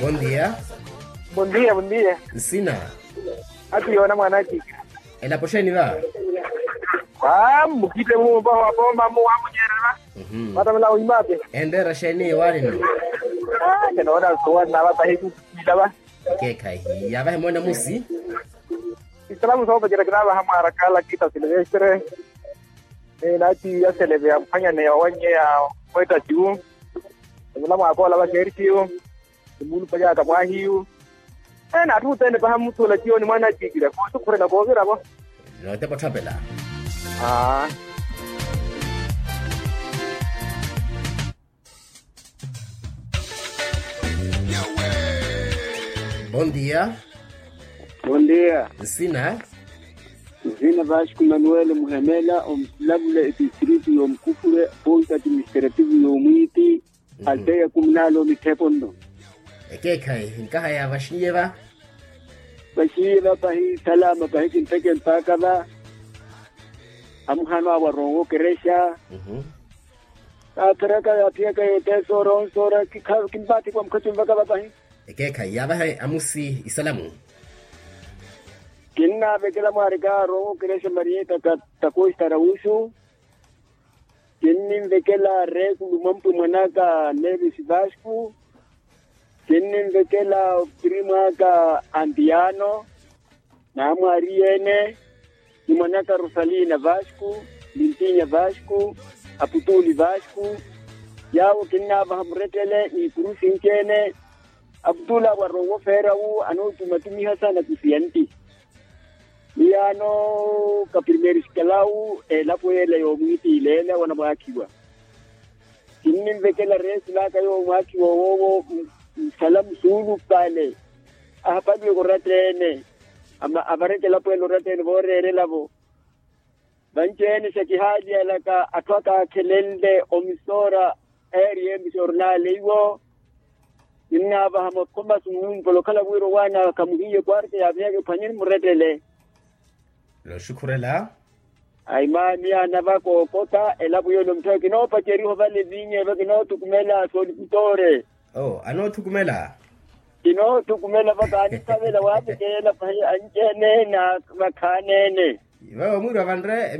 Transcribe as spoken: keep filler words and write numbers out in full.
Bondia. Bondia bondia. Nsina. Ati yoona mwaana ati. Elapo xeeni va? Aa mukite mumpa wa pompa mu wamunyerela. Matamela wimape. Enreera xeeni waanino? Kenoona nsuwa nava pahiku. Ilava. Keekhayi yaavahe moona musi. Isalamu soopacerya kinaavaha mwaara kala kita silvestre. Naati yaseleve ya mphwanyane ya wannye ya mwetta cu. Emula mwaakoola va kerisiyo. Emuulupanyaka mwahiyu. Ene atthu othene paha muthuula ciyo ni mwaana a ciikira koosukhurela kooviravo. Nootepa otthapela. Aa. Bondia. Bondia. Nsina. Nsina vasco manuel muhemela omusilavula etistritu y'omukufule ponta atiministrativu y'omwiiti. Alteya kumunala omithepo nno. Ekeekhayi nkahaya vaxiiye va. Vaxiiye va pahi salama pahi kinteke mpaaka va. Amuhano awaronwa okerexa. Kaapheraka yaaphiyaka yoteesa ora onsoora kimpaathiku amukhaci onvaka va pahi. Ekeekhayi yaavahe amusi isalamu. Kinnavekela mwaarika aronwa okerexa marieta takoista rausu. Kinninvekela reekulu mwampwe mwanaka nevis vasco. Kinninvekela opirimu aka antiano. Naamwaariyeene ni mwanaka rosalina vasco. Lintinya vasco. Aputuli vasco. Yaawo kinnaavaha murettele n'ikuru sinci-ene. Aputuli awo arowa ofeera wu anootumatumiha sana kusiyanti. Miyaano ka primeiro escalão elapo yeela yoomwiitiileela wanamwaakhiwa. Kinninvekela reesilaka yoomwaakhiwa woowo nsala musuulupale. Ahapaliweke oratta-ene. Avarekela pweela oratta-ene vooreerelavo. Vanci-ene xa kihaaliyalaka atthu aka akhelenle omisoora. Eeriye misoora naaleiwo. Kinnaavaha makhoma summumpola okhala wira owaana khamuhiye kwarta yaavihaka ephwanyeni murettele. Nooxukhurela. Ayi maani anava kookota elapo yoole omutthawe kinoopaceriha ovale vinya eva kinoothukumela soolikutoore. Oo anoothukumela. Kinoothukumela va kaanithavela waapekeela pahi anci-ene na vakhaani-ene. Vawe omwiiri wa vanre.